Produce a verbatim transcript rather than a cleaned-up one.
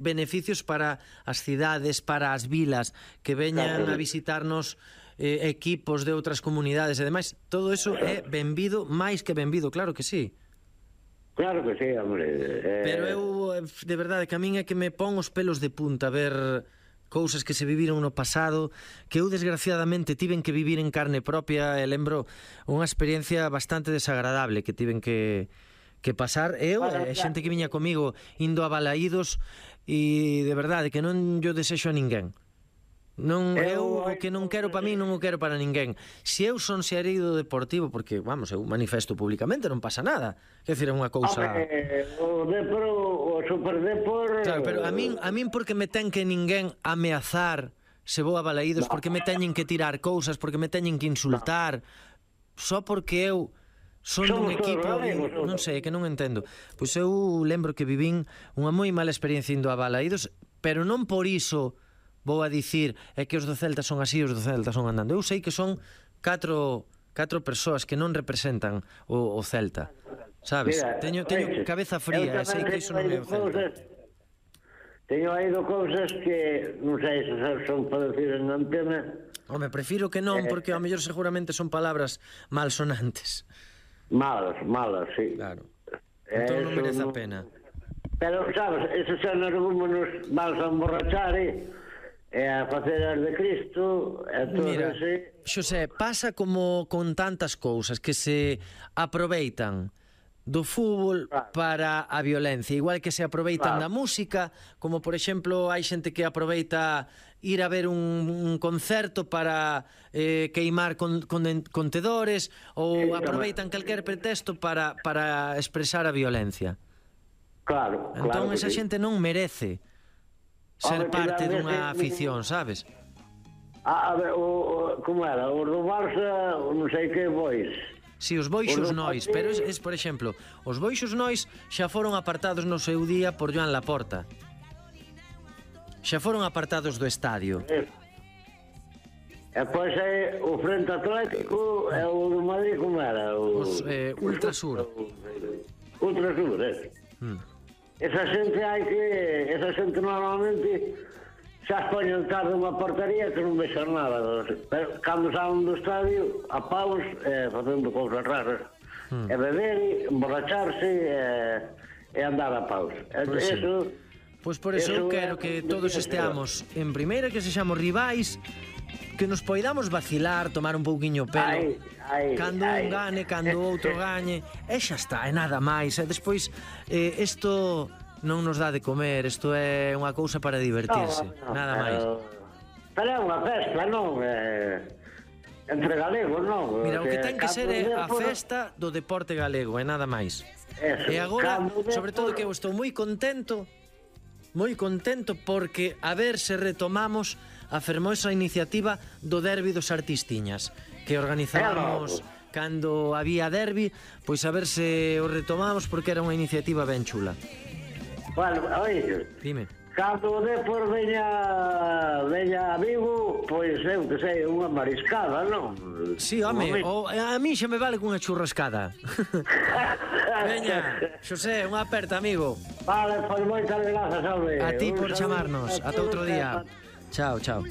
beneficios para as cidades, para as vilas, que veñan a visitarnos eh, equipos de outras comunidades e demais. Todo eso é benvido, máis que benvido, claro que sí. Claro que sí, hombre. Eh... Pero eu, de verdade, que a min é que me pon os pelos de punta a ver cousas que se viviron no pasado, que eu desgraciadamente tiven que vivir en carne propia, e lembro unha experiencia bastante desagradable que tiven que que pasar. Eu, e xente que viña comigo indo a Balaídos, e de verdade que non yo desexo a ninguén. Non, eu o que non quero para mí non o quero para ninguén. Se eu son xerido deportivo, porque, vamos, eu manifesto públicamente, non pasa nada. Quer dizer, é unha cousa... Hombre, o Depor, o Superdepor... Claro, pero a min, a min porque me ten que ninguén ameazar se vou a Balaídos, porque me teñen que tirar cousas, porque me teñen que insultar, só porque eu son dun equipo, non sei, que non entendo. Pois eu lembro que vivín unha moi mala experiencia indo a Balaídos, pero non por iso vou a dicir é que os do Celta son así, os do Celta son andando. Eu sei que son catro, catro persoas que non representan o, o Celta, sabes? Mira, teño, teño oye, cabeza fría, sei que iso non é o Celta. Teño oído cousas que non sei se son para decir en antena. Home, prefiro que non, porque ao mellor seguramente son palabras malsonantes. Malas, malas, sí. Claro. Entón non merece a pena. Pero, sabes, esos son argumentos vamos a emborrachar, eh? E a facer as de Cristo e todo. Mira, ese... Xosé, pasa como con tantas cousas que se aproveitan do fútbol claro. para a violencia, igual que se aproveitan claro. da música, como por exemplo hai xente que aproveita ir a ver un, un concerto para eh, queimar con, con, contedores, ou sí, aproveitan calquer pretexto para, para expresar a violencia. Claro, entón claro esa sí. xente non merece ser parte dunha afición, sabes? A, a ver, o, o, como era? Os do Barça, non sei que bois. Si, os boixos nois, pero es, es, por exemplo, os boixos nois xa foron apartados no seu día por Joan Laporta. Xa foron apartados do estadio. É. E pois é o Frente Atlético e o do Madrid, como era? O, os eh, Ultrasur. Ultrasur, é. Hmm. Esa xente hai que... Esa xente normalmente xa poñen tarde unha portería que non vexan nada. Pero cando salen do estadio, a paus, eh, facendo cousas raras. Hmm. E beber, emborracharse e, e andar a paus. Pois sí. Eso... Pois por eso eu quero que todos esteamos en primeira, que sexamos rivais, que nos poidamos vacilar, tomar un pouquiño pelo, ai, ai, cando ai. un gane, cando outro gañe, e xa está, e nada máis. E despois, eh, isto non nos dá de comer, isto é unha cousa para divertirse, no, no, nada máis. Pero é unha festa, non? Eh, entre galegos, non? Mira, o que ten que ser é a festa do deporte galego, e nada máis. Eso, e agora, sobre todo que eu estou moi contento, moi contento porque a ver se retomamos a fermosa iniciativa do derbi dos Artistiñas que organizábamos cando había derbi, pois a ver se o retomamos porque era unha iniciativa ben chula. Bueno, oye, dime. Cando o Depor veña veña a Vigo, pois eu que sei, unha mariscada, non? Si, sí, home, o, a mí xa me vale cunha churrascada. Veña, Xosé, unha aperta, amigo. Vale, pois moitas grazas, hombre. A ti por chamarnos, ata outro día. Chao, chao.